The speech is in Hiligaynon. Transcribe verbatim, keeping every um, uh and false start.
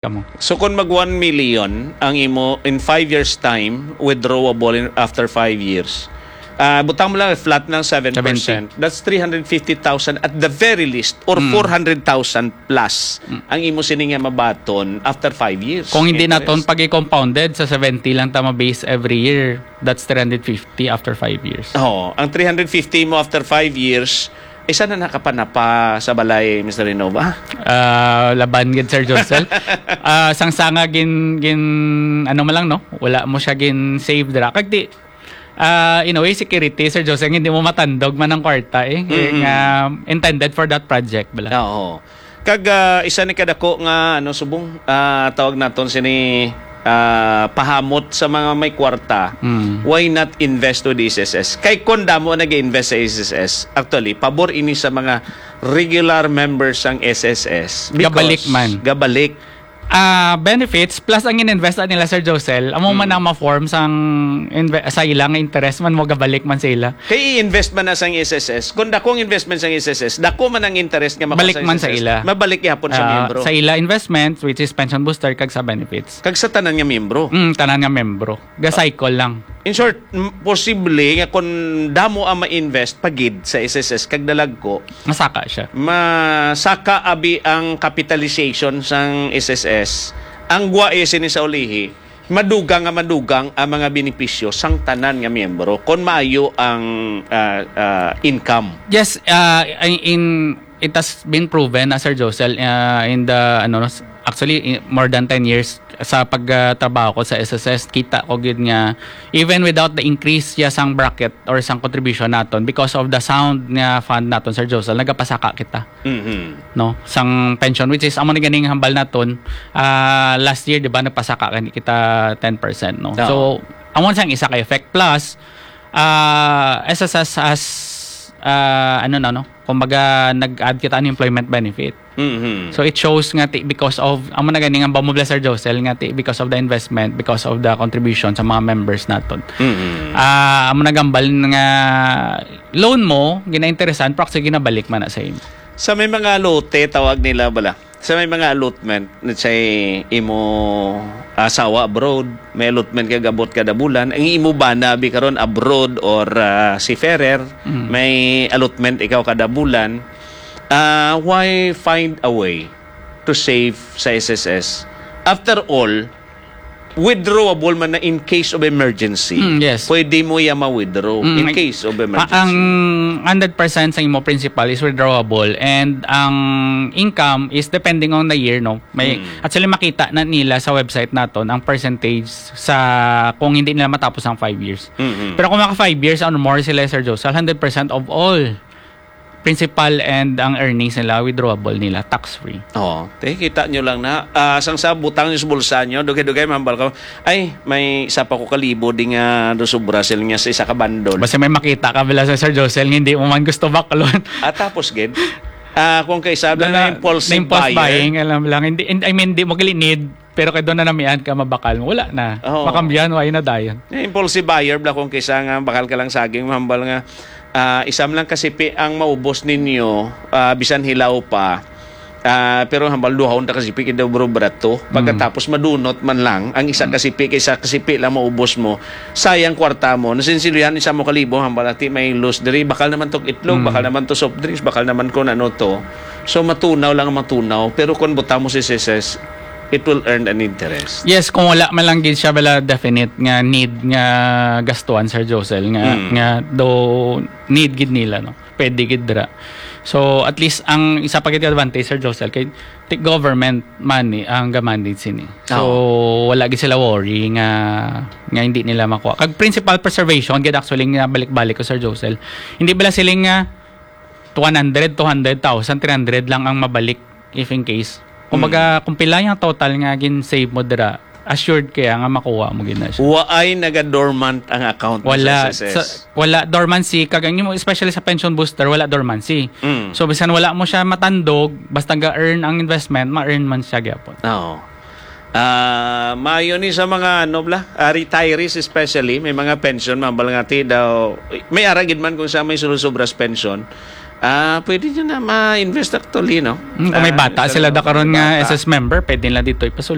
Kamo. So, kung mag one million ang imo in five years time, withdrawable in, after five years, ah, butang mo lang, flat ng seven percent. Seventy. That's three hundred fifty thousand at the very least, or Mm. four hundred thousand plus Mm. ang imo sini nga mabaton after five years. Kung hindi Interest. naton pag-i-compounded sa seventy lang ta ma-base every year, that's three hundred fifty after five years. Oo. Ang three hundred fifty mo after five years, isa na nakapanapa sa balay, Mister Renova? Ah, laban gid, Sir Josel. Ah, sang sanga gin, gin, ano man lang, no? Wala mo siya gin save dira. Kag di, ah, in a way, security, Sir Josel, hindi mo matandog man ang kwarta, eh. Mm-mm. Nga intended for that project, bala. Oo. Kag, ah, isa ni kadako nga, ano, subong, ah, tawag naton sini, ah, pahamot sa mga may kwarta, Mm. why not invest to the S S S? Kay kon damo ang nag-invest sa S S S, actually, pabor ini sa mga regular members sang S S S. Because Gabalik man. gabalik. Ah, benefits plus ang in-invest nila, Sir Josel, amo man Mm. ang ma-form sang inve-, sa ila nga interest man mo gabalik man sa ila. Kay i-invest man na sang S S S. Kung dakong investment sang S S S, dako man ang interest nga makuha Balik sa man sa S S S, ila. mabalik gihapon sa Ah, miyembro. sa ila investment, which is pension booster, kag sa benefits. Kag sa tanan nga miyembro. Mm, tanan nga miyembro. Ga-cycle lang. In short, m-, posible nga kung damo ang ma-invest pagid sa S S S kag dalagko, Masaka siya. masaka abi ang capitalization sang S S S. Ang gwa, eh, sini sa ulihi, madugang nga madugang ang mga benepisyo sang tanan nga miyembro kon maayo ang, ah, ah, income. Yes, ah, in, in, it has been proven, ah, Sir Josel, ah, in the, ano, s-, actually, in more than ten years sa pagtrabaho ko sa S S S, kita ko gid nga even without the increase ya sang bracket or sang contribution naton, because of the sound nga fund naton, Sir Josel, nagapasaka kita. Mhm. No, sang pension, which is amo ni ganing hambal naton, ah, last year, di ba, nagpasaka gani kita ten percent, no? Oo. So, amo sang isa ka effect. Plus, ah, S S S has, ah, ano na, no? Kumbaga, nag-add kita unemployment benefit. Mhm. So, it shows nga ti-, because of, amo na gani nga hambal mo, Sir Josel, nga ti-, because of the investment, because of the contribution sa mga members naton. Mhm. Ah, amo na gambal nga loan mo, ginainteresan, pero actually ginabalik man na sa imo. Sa may mga lote, tawag nila bala. Sa may mga allotment, let's say, imo asawa abroad, may allotment ka gabot kada bulan, ang imo bana bi karon abroad or, ah, seafarer, Mm. may allotment ikaw kada bulan, ah, why find a way to save sa S S S? After all, withdrawable man na in case of emergency. Mm, yes. Pwede mo iya ma-withdraw Mm, in like, case of pa-, emergency. ang hundred percent sa imo principal is withdrawable and ang income is depending on the year, no? May, Mm. actually, makita na nila sa website naton ang percentage sa kung hindi nila matapos ang five years. Mm-mm. Pero kung maka five years or more sila, Sir Josel, hundred percent of all principal and ang earnings nila, withdrawable nila, tax-free. Oo. Te, kita nyo lang na. Ah, sang sa butang nyo sa bulsa nyo, dugay-dugay, mahambal ka, "Ay, may isa pa ko kalibo di nga do sobra sila niya sa isa ka bandol." Basta may makita ka, bila sa Sir Josel, nga hindi mo man gusto baklon. Ah, tapos, gid? Ah, kung kaisa na, na impulsive na impulse buyer. buying, alam lang. Hindi, hindi, I mean, hindi mo gali need, pero kay doon na namian ka, mabakal mo. Wala na. Oo. Makambiyan, wala na dayon. Yung impulsive buyer, bla, kung kaisa nga, bakal ka lang saging, mahambal nga, ah, isam lang kasipi ang maubos ninyo, ah, bisan hilaw pa. Ah, pero hambal duhon ta kasipi, kay daw bro brato. Mm. Pagkatapos madunot man lang, ang isa Mm. kasipi, kay isa kasipi lang maubos mo, sayang kwarta mo. Nasinsiluyan, isa mo kalibo, hambal ati may loss diri, bakal naman to itlog, Mm. bakal naman to soft drinks, bakal naman kung ano to. So, matunaw lang ang matunaw. Pero kung butang mo si S S S, it will earn an interest. Yes, kung wala man lang gid siya bala definite nga need nga gastuan, Sir Josel, nga, Mm. nga do need gid nila, no? Pwede gid dira. So, at least, ang isa pa gid advantage, Sir Josel, kay ti-, government money ang ga-manage sini. So, Oo. wala gid sila worry nga, nga hindi nila makuha. Kag principal preservation, gid actually nga balik-balik ko, Sir Josel. Hindi bala sila nga one hundred, two hundred thousand, three hundred lang ang mabalik if in case. Kumbaga, Mm. kung pila yung total nga gin-save mo dira, assured kaya nga makuha mo gid na siya. Waay naga-dormant ang account mo Wala. sa S S S? Sa, wala dormancy. Kag ang imo, especially sa pension booster, wala dormancy. Mm. So, bisan wala mo siya matandog, basta ga-earn ang investment, ma-earn man siya gyapon. Oo. Ah, maayo ni sa mga, ano bla, ah, retirees especially, may mga pension, mabal nga ti daw, may ara gid man kung sa may sulusubras pension, Ah, pwede nyo na ma-invest actually, no? Hmm, kung may Ah, bata sa sila mga da karon nga bata. S S member, pwede nila dito ipasulod.